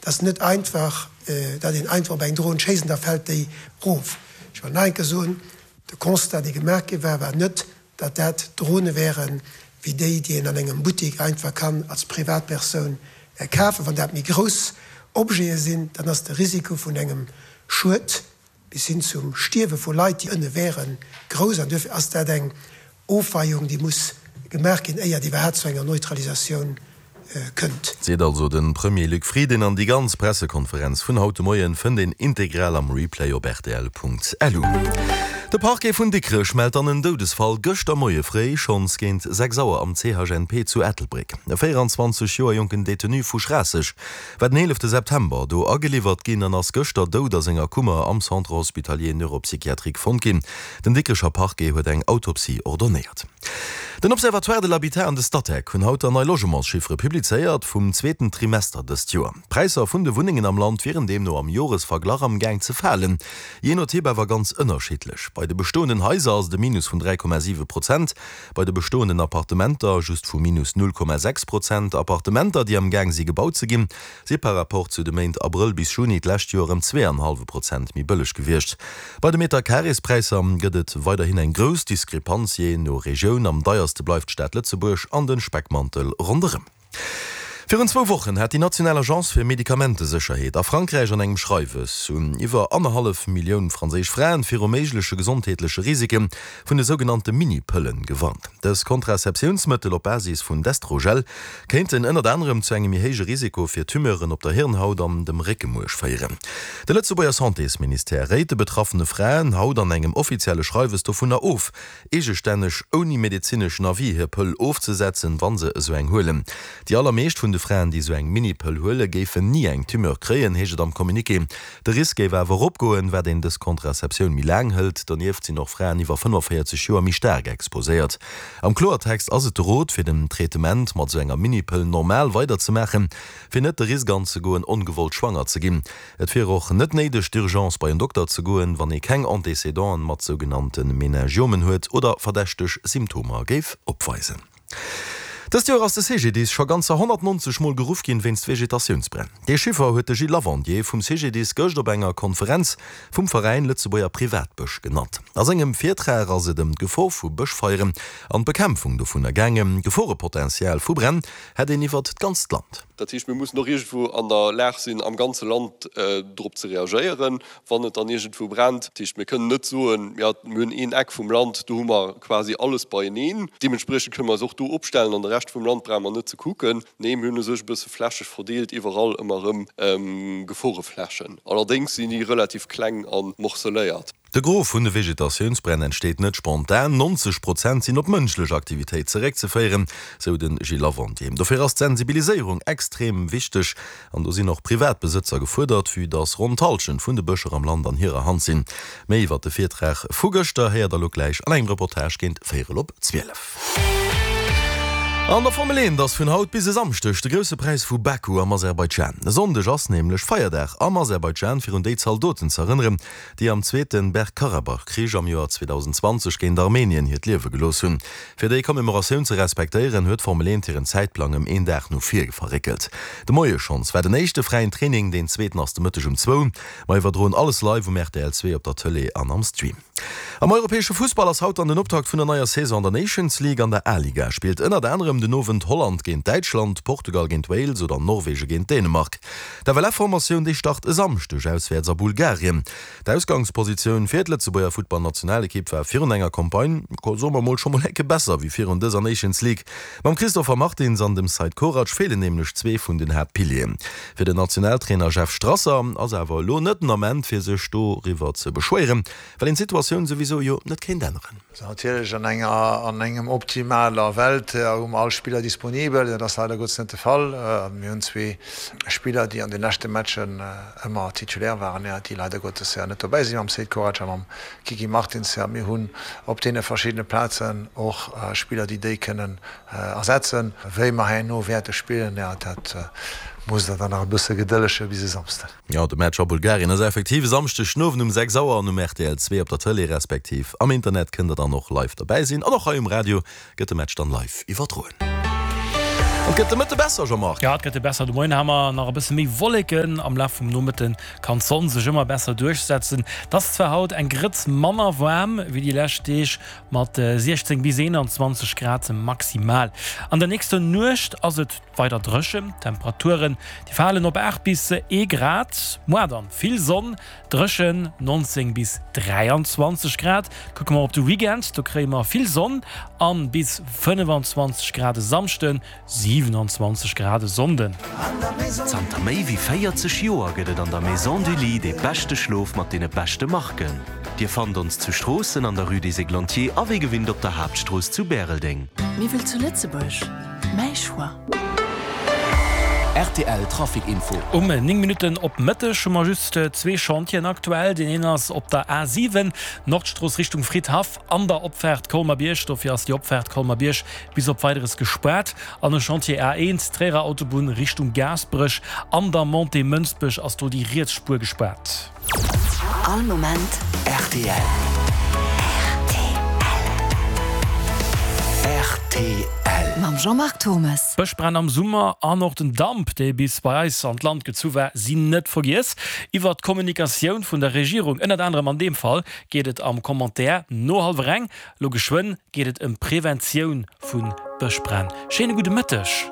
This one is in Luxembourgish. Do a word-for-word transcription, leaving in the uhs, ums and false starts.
Et ass net einfach, datt een einfach op eng Dron schéisst an da fält déi erof. Ech wëll nach eng Kéier soen, De Constat, dee gemaach gi war, war net, datt dat Drone wären, wéi déi, déi een an engem Buttek einfach kann als Privatpersoun kafen. Wann dat méi grouss Objete sinn, dann ass de Risiko vun engem Schued bis hin zum Stierwe vu Leit, déi ënne wären, grouss. An duerfir ass dat eng Ofweiung, déi muss gemaach ginn, éier et iwwerhaapt zu enger Neutralisatioun kënnt. Seet also de Premier Luc Frieden. An déi ganz Pressekonferenz vun haut de Moien fënnt een integral am Replay op rtl.lu. De Parquet vun Dikrech mellt dann en Doudesfall gëschter Moie fréi, schonns géint sechs Auer am C H N P zu Ettelbréck. E véieranzwanzeg Joer jonken Detenu vu Schraasseg war den eelefte September do ageliwwert ginn an ass gëschter dout a senger Kummer am Centre hospitalier neuropsychiatrique fonnt ginn. Den Dikrecher Parquet huet eng Autopsie ordonéiert. Den Observatoire de l'habitat an de Statec hunn haut der nei Logementschiffere publizéiert vum zweeten Trimester dëst Joer. D'Präisser vun de Wunnengen am Land wieren deemno am Joresverglach am Gaang ze falen, jee no Typ awer ganz ënnerschiddlech. Bei de bestoenden Haiser ass et e Minus vun dräi Komma siwe Prozent, bei de bestoenden Appartementer just vu minus null Komma sechs Prozent. Appartementer, déi am Gaang si gebaut ze ginn, si par Rapport zu de Méint Abrëll bis Juni d'lescht Joer ëm zwee an hallwe Prozent méi bëlleg gewiescht. Bei de Meterkarespräisser gëtt et weiderhin eng grouss Diskrepanz jee no Regioun. Am deierste bleift d'Stad Lëtzebuerg an de Speckmantel ronderëm. Virun zwou Wochen hat déi national Agence fir Medikamentesécherheet a Frankräich an engem Schreiwes un iwwer annerhallef Millioun franséisch Fraen viru méigleche gesondheetleche Risike vun de sougenannte Mini-Pëllen gewarnt. Dës Kontraseptiounsmëttel op Basis vun Destrogel kéinten ënnert anerem zu engem méi héije Risiko fir Tumeuren op der Hirnhaut an dem Réckemuerch féieren. De Lëtzebuerger Santésministère réit de betraffene Fraen haut an engem offizielle Schreiwes dovunner of, eegestänneg ouni medezineschen Avis hir Pëll ofzesetzen, wa se esou eng huelen. Déi allermeescht vun de Fraen, déi esou eng Mini-Pëll huelen, géifen ni eng Tumeur kréien, heescht et am Communiqué. De Risk géif awer eropgoen, wat een dës Contraceptioun méi laang hëlt. Donieft sinn och Fraen iwwer fënnefenvéierzeg Joer méi staark exposéiert. Am Kloertext ass et de Rot, fir den Traitement mat esou enger Mini-Pëll normal weiderzemaachen, fir net de Risk anzegoen, ongewollt schwanger ze ginn. Et wier och net néideg, d'urgence bei en Dokter ze goen, wann ee keng Antécédenten mat sougenannte Meningiomen huet oder verdächteg Symptomer géif opweisen. Dëst Joer ass de C G D I S scho ganzer honnertnonzeg Mol geruff ginn wéinst Vegetatiounsbränn. Dee Chiffer huet de Gilles Lavandier vum C G D I S gëscht op enger Konferenz vum Veräin Lëtzebuerger Privatbësch genannt. A sengem Virtrag ass et ëm d'Gefor vu Bëschfeieren an d'Bekämpfung dovunner gaangen. D'Geforepotential vu Bränn hätt een iwwert d'ganzt Land. Dat heescht, mir mussen och iergendwou an der Lag sinn, am ganze Land drop ze reagéieren, wann et dann iergendwou brennt. Dat heescht, mir kënnen net soen, jo, mir hunn een Eck vum Land, do hu mer quasi alles beieneen. Deementspriechend kënne mer eis och do opstellen an de Rescht vum Land brauche mer net ze kucken. Nee, mir hunn u sech e bësse flächeg verdeelt iwwerall ëmmer erëm Geforeflächen. Allerdéngs sinn déi relativ kleng a morceléiert. De Gros vun de Vegetatiounsbränn entsteet net spontan, nonzeg Prozent sinn op mënschlech Aktivitéit zeréckzeféieren, sou de Gilles Lavandier. Dofir ass d'Sensibiliséierung extrem wichteg an do sinn och Privatbesëtzer gefuerdert, vue dass ronn d'Hallschent vun de Bëscher am Land an hirer Hand sinn. Méi iwwert de Virtrag vu gëschter héiert der elo gläich an engem Reportage géint véierel op zwielef. An der Formel eent ass vun haut bis e Samschdeg de Grousse Präis vu Baku am Aserbaidschan. E Sonndeg ass nämlech Feierdag am Aserbaidschan, fir un déi Zaldoten z'erënneren, déi am zweete Bergkarabach-Krich am Joer zweedausendzwanzeg géint Armenien hiert Liewe gelooss hunn. Fir déi Commemoratioun ze respektéieren, huet d'Formel eent hiren Zäitplang ëm een Dag no vir verréckelt. De Moie schonns war den éischte fräien Training, deen zweeten ass de Mëtteg um zwou. Mer iwwerdroen alles live um R T L zwee op der Tëlee an am Stream. Am europäesche Fussball ass haut dann den Optakt vun der neier Saison an der Nations League. An der A-Liga spillt ënnert anerem den Owend Holland géint Däitschland, Portugal géint Wales oder Norwege géint Dänemark. D'F L F-Formatioun déi start e Samschdeg auswäerts a Bulgarien. D'Ausgangspositioun fir d'Lëtzebuerger Futtballnationalekipp war virun enger Campagne, soe mer mol, scho mol ecke besser wéi virun dëser Nations League. Mam Christopher Martins an dem Seid Korac feelen nämlech zwee vun den Haaptpilieren. Fir den Nationaltrainer Jeff Strasser ass awer elo net den Ament fir sech doriwwer ze beschwéieren, well een d'Situatioun souwisou jo net kéint änneren. Natierlech an enger an engem optimaler Welt hu mer all Spiller disponibel. Dat ass leider Gottes net de Fall. Mir hunn zwee Spiller, déi an de leschte Matchen ëmmer Titulaire waren, déi leider Gottes net dobäi sinn, mam Seid Korac a mam Kiki Martins. Mir hunn op deene verschiddene Plazen och Spiller, déi déi kënnen ersetzen. Wéi mer herno wäerte spillen, dat musst der dann nach e bësse gedëllege bis e Samsden. Jo, de Match a Bulgarien ass effektiv e Samschdeg den Owend um sechs Auer an um R T L zwee op der Tëlee respektiv am Internet kënnt der dann och live derbäi sinn. An och hei um Radio gëtt de Match dann live iwwerdroen. An et gëtt de Mëtte besser, Jean-Marc? Jo, et gëtt besser. De Moien ha mer nach e bësse méi Wolleken, am Laf vum Nomëtte kann d'Sonn sech ëmmer besser duerchsetzen. Et ass zwar haut eng Grëtz manner waarm wéi déi lescht Deeg, mat siechzéng bis eenanzwanzeg Grad maximal. An der nächster Nuecht ass et weider dréchen, d'Temperaturen déi falen op aacht bis ee Grad. Moar dann vill Sonn, dréchen, nonzéng bis dräianzwanzeg Grad. Kucke mer op de Weekend, do kréie mer vill Sonn an bis fënnefanzwanzeg Grad e Samschden, siwenanzwanzeg Grad e Sonnden. Zanter méi wéi véierzeg Joer gëtt et an der Maison du Lit dee beschte Schlof mat deene beschte Marken. Dir fannt ons zu Stroossen an der Rue des Églantiers a wéi gewinnt op der Haaptstrooss zu Bäreldeng. Miwwel zu Lëtzebuerg, mäi Choix. Rtl Trafic Info. Um néng Minutten op Mëtteg hu mer just zwee Chantieren aktuell. Deen een ass op der A siwen, Nordstrooss Richtung Fridhaff, an der Opfaart Colmer-Bierg. Dofir ass déi Opfaart Colmer-Bierg bis op Weideres gespaart. An e Chantier A eent, Tréierer Autobunn Richtung Gaasperech, an der Montée Mënsbech ass do déi riets Spuer gespaart. All Moment rtl. Rtl. Mam Jean-Marc Turmes. D'Bëschbränn am Summer an och den Damp, dee bis bei eis an d'Land gezu war, sinn net vergiess. Iwwert d'Kommunikatioun vun der Regierung, ënnert anerem an deem Fall, geet et am Commentaire no hallwer eng. Lo geschwënn geet et ëm d'Preventioun vu Bëschbränn. Schéine gudde Mëtteg.